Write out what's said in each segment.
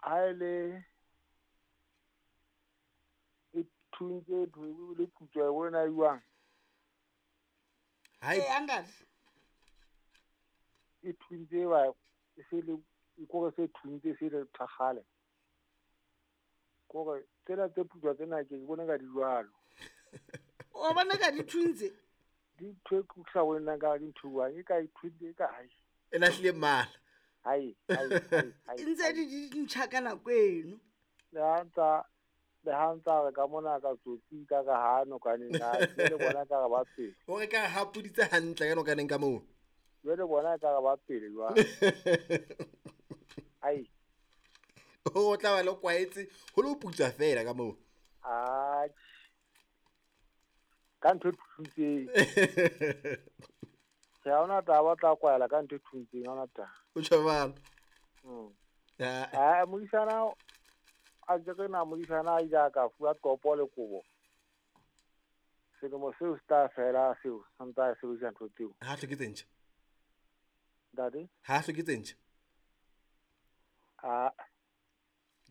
Ha ele e thuntse e le putswa e bona jwang? Ha e ntate. E thuntse ba e se le e kore se thuntse se le thakgale. Kore tsena tse putswa tsena ke bona ka di jwalo. O bona ka di thuntse? Di ntho e ke sa bonang ka di ntho jwang e ka e thuntse e ka hai. E lahlile mmala. Hai hai hai. E ntse di ntjha ka nako eno. Le ha ntsa re ka mona ka tsotsi ka ka ha nokaneng na le bona ka re ba pele. O re ka ha puditse hantle ka nokaneng ka moo. Jwale bona ka re ba pele jwang. Ai. O tla ba le kwaetse ho lo putswa fela ka moo. Ah. Ka ntho e thuntseng. Ke ha ona taba tla kwaela ka ntho e thuntseng ha ona taba. O tjho bana. Ah, modisana a ke re na modisana a ile a ka fuwa topo le kobo. Selemo seo se tla fela seo, sa ntse a sebedisa ntho tseo. Ha hloke tse ntjha. Ntate? Ha hloke tse ntjha. Ah.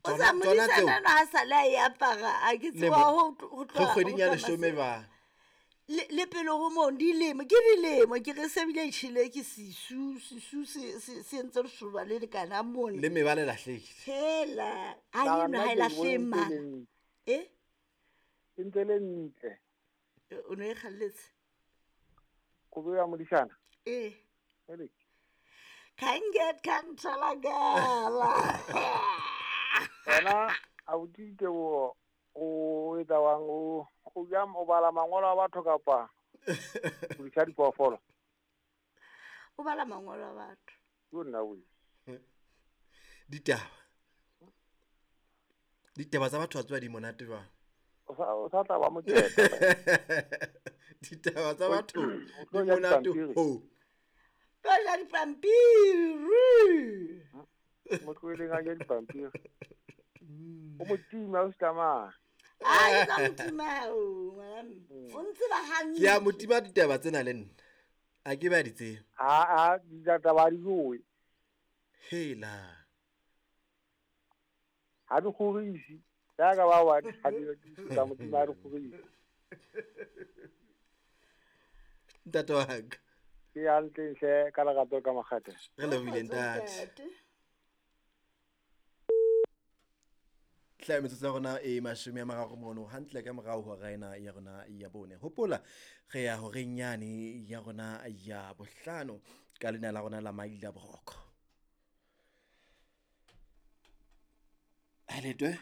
O sa modisana no ha sa le a e apara, a ke tseba ho tloha kgweding ya leshome ba. Le pele ho moo dilemo, ke dilemo, ke re se bile tjhele ke sisu, sisu se entse lesoba le lekana mona. Le mebala e lahlehile. Hela, ha eno ha e lahlehe mmala. E? E ntse le ntle. O no e kgalletse? Kobo ya modisana? E. Ele. Kanget kanthalagala. Wena abuti ke o etsa wang o jam o bala mangolo a batho kapa o disa diphoofolo? O bala mangolo a batho. Yo nna we. Ditaba. Ditaba tsa batho ba tswa di monate jwang? O sa tla ba mokete. Ditaba tsa batho di monate ho. Tlo ja dipampiri. Motho e leng a ja dipampiri. O motima o ska. Ai ka motima o ngwana. O ntse ba hantle. Ke a motima ditaba tsena le nna. A ke ba di tsebe. A ditaba di jowe. Hela. Ha di kgorisi. Ya ka ba wa ha di tsa motima di kgorisi. Ntate wa ka. Ke hantle hle ka lerato ka makgate. Re lebohile ntate. Tla metsotso ya rona e 30 mono hantle ka morao hora ena ya rona ya bone. Hopola re ya horeng yane ya rona ya bohlano ka lena la rona la Maila Boroko. Haletwe.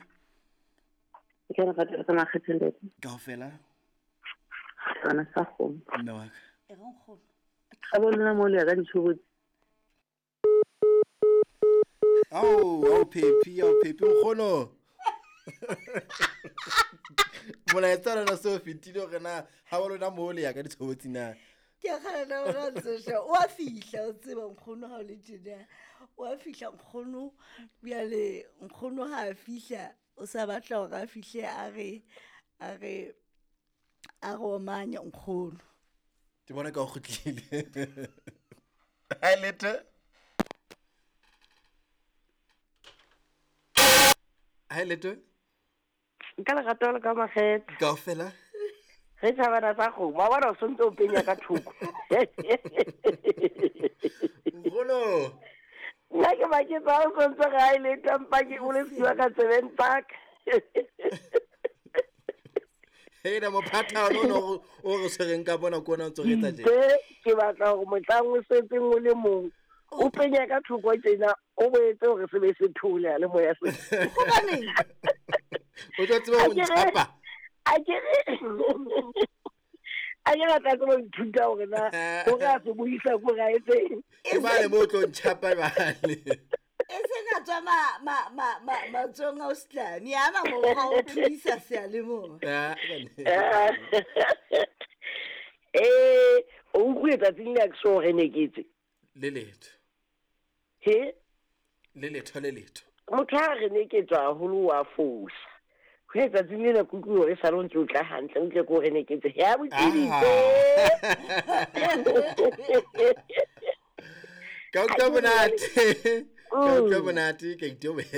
Ke re rata ka makgate ntate. Kaofela. Tsona sa kgomo. Mme wa ka. E re nkgono. Ka bona mo le ka ditshobotsi. Au Pepi, au Pepi nkgono. Molaetsa ona so fetile hore na ha wa lona mo le ya ka ditshobotsi na. Ke kgana hore ntse o a fihla o tseba nkgono ha o le tjena. O a fihla nkgono bjale nkgono ha a fihla o sa batla hore a fihle a re a re omanya nkgono. Ke bona ka o kgutlile. Ha lete. Ha lete. Nka lerato le ka makgethe. Kaofela. Re thabana tsa kgomo, wa bona o sontse o penya ka thoko. Nkgono. Nna ke maketsa o sontse ga e le tampa ke o le siwa ka tsebeng tsaka. Hela mophatha ono o re tshwereng ka bona ko ona o ntse re etsa tje. Ke batla hore mohlang o setseng o le mong o penya ka thoko tjena o boetse hore se be se thole le moya se. Hobaneng? O tla tseba ho ntshapa. A ke batla tseba ho ithuta hore na hore a se buisa ko ra etseng. Ke bale mo tlo ntshapa bale. E se ka tswa ma matsong a o setlami ana mokgwa o thuisa seyalemoya. O utlwile tsatsing le a ke so re neketse. Le letho. He? Le letho le letho. Motho ha re neketswa haholo wa fosa. Ho etsa tsatsing lena ke utlwe hore sale o ntse o tla hantle, o tle ko re neketse. Ya botsiditse. Ka utlwa monate. Ka utlwa monate ke itobela.